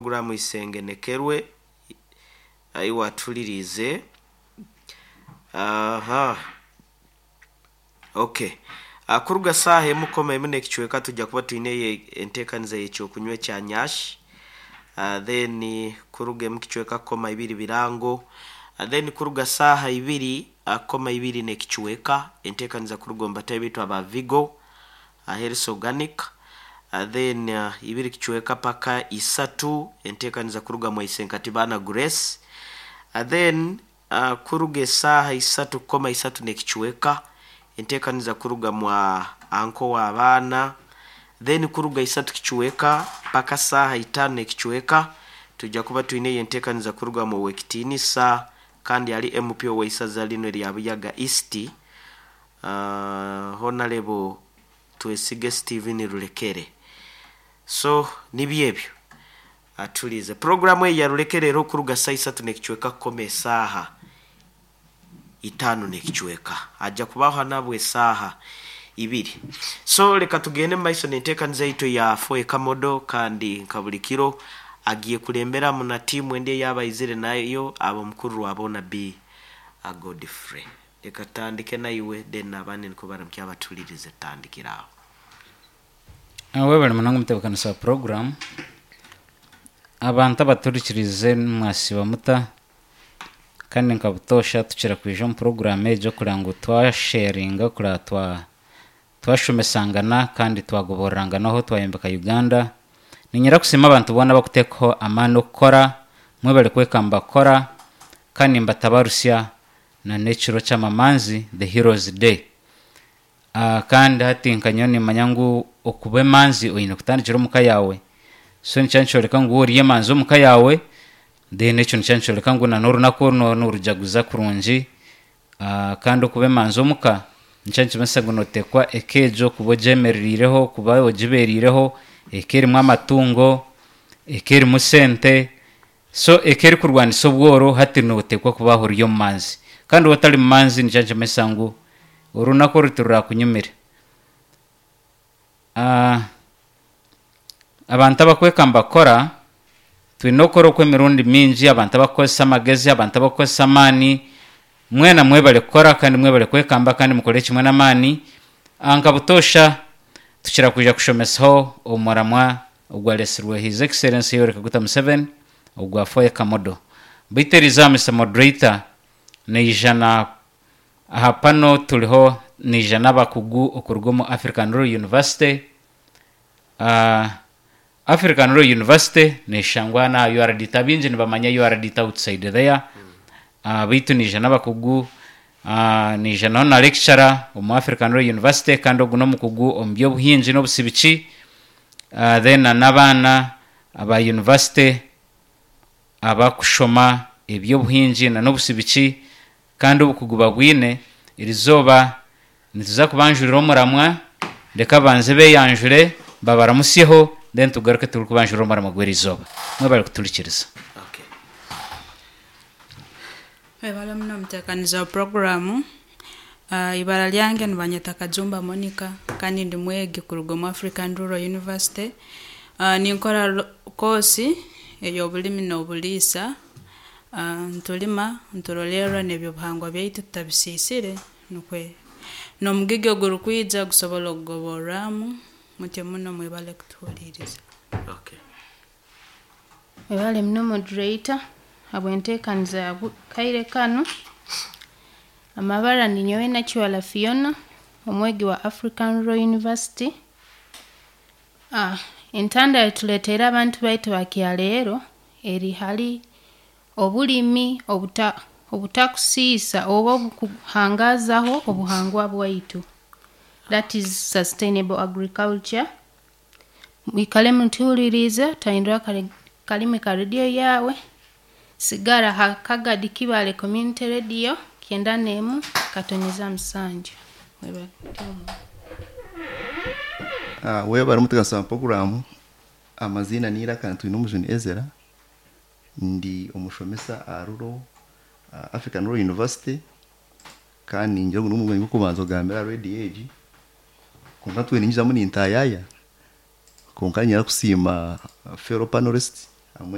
Puroguraamu Isengenekerwe ahi waatuhuririize. Aha. Okay. Ah, kuruga saaha emu koma emu n'ekicweka tujja kuba twine enteekaniza y'ekyokunywa ekya nyash. Then kuruga emu kicweka koma ibiri birango. Then kuruga saaha ibiri koma ibiri n'ekicweka enteekaniza kuruga omu batahi baitu aba Vigo Health Organic. Then ibiri kicweka paka isatu enteekaniza kuruga mwa Isenkatibaana Grace. Then kuruga esaaha isatu kukoma isatu n'ekicweka enteekaniza kuruga mwa anko w'abaana. Then kuruga isatu kicweka paka saaha itaano n'ekicweka twija kuba twineyo enteekaniza kuruga mu Owekitiinisa kandi ari MP ow'eisaza linu erya Buyaga East, Honarebo Twesige Steven Rurekere. So nibyo ebyo. Atuhuriize. Puroguraamu eyi ya Rurekere eriho kuruga saaha isatu n'ekicweka kukoma esaaha itaano n'ekicweka. Haija kubaho nabwo esaaha ibiri. So leka tugende omu maiso n'enteekaniza yaitu eya Foe Kamodo kandi nka buri kiro agiye kuremberamu na tiimu endi ei aba aizire nayo ab'omukuru Rwaboona B. Godfrey. Leka tutandike naiwe then n'abandi nikwo baramukye abatuhuririze tutandikire aho. Webale munonga omutebeekanisa wa puroguraamu. Abantu abaturikiriize mwasiiba muta? Kandi nka butoosha tukira kwija omu puroguraamu egi kureba ngu twasheyaringa kureba twa twashomesangana kandi twagoboreranganaho twayombeka Uganda. Niinyenda kusiima abantu boona abarikuteekaho amaani okukora, mwebare kwekamba kukora kandi nimbatabarusya na n'ekiro ky'amamanzi the heroes day. Kandi hati nka nyowe nimanya ngu okuba emanzi oine kutandikira omu ka yaawe. So nikyo nikyoreka ngu waaba ori emanzi omu ka yaawe, then ekyo nikyo nikyoreka ngu na n'orunaku oru nooba noorujaguza kurungi. Kandi okuba emanzi omu ka nikyo nikimanyisa ngu nooteekwa eka egyo kuba ogyemerereireho, kuba ogibeereireho, eka erimu amatungo, eka erimu sente, so eka erikurwanisa obworo hati nooteekwa kuba ori omumanzi. Kandi waaba otari mumanzi nikyo nikimanyisa ngu orunaku oru tirurakunyumire. Abantu abakwekamba kukora, twine okukora okw'emirundi mingi, abantu abakukozesa amagezi, abantu abakukozesa amaani, mwena mwebare kukora kandi mwebare kwekamba kandi mukore kimwe n'amaani. Nka butoosha tukira kwija kushomesaho omuramwa ogwaretsirwe His Excellency Yoweri Kaguta Museveni ogwa Foye Kamodo. Beitu eriizooba Mister Moderator naija na aha pano turiho naija n'abakugu okuruga omu African Rural University. African Rural University neshangwa n'aha URDT, abaingi nibamanya URDT outside there, beitu naija n'abakugu, naija naho na lecturer omu African Rural University kandi ogu n'omukugu omu by'obuhingi n'obusibiki, then na n'abaana aba university abakushoma eby'obuhingi na n'obusibiki kandi obukugu babwine. Erizooba nituza kubanjurira omuramwa, reka babanze beyanjure babaramusyeho then tugaruke turikubanjurira omuramwa gw'erizooba. Mwebare kuturikiriza. Okay. Webale muno omuteekaniza wa puroguraamu. Ibara ryange nibanyeta Kajumba Monica kandi ndi mwegi kuruga omu African Rural University. Ninkora koosi ey'obulimi n'obuliisa. Nitulima, niturolerra n'eby'obuhangwa byaitu tutabisiisire nukwe n'omugigi ogurikwija gusobole okugoborramu. Mutyo muno mwebale kutuhuliiriza. Okay. Webale muno moderator habw'enteekaniza ya kaire kanu. Amabara ninyowe Nakiwala Fiona, omwegi wa African Rural University. Entanda eituleeteire abantu baitu ba kyaleero eri hali obulimi obuta obutakusiisa oba obukuhangaazaho obuhangwa bwaitu, that is sustainable agriculture. Mwikale mutuhuliriize otahindura kalimi ka rediyo yaawe, sigara ha Kagadi Kibaale Community Radio kyenda n'emu katonyeza musanju. Mwebale. Webare omutebeekanisa wa puroguraamu, amaziina n'eiraka Twinomujuni Ezra, ndi omushomesa aha Rural African Rural University kandi ningira ngu n'omuringo gw'okubanza kugambira aha rediyo egi, kwonka ntwire ningizamu nintayaya, kwonka niinyenda kusiima fellow panelists.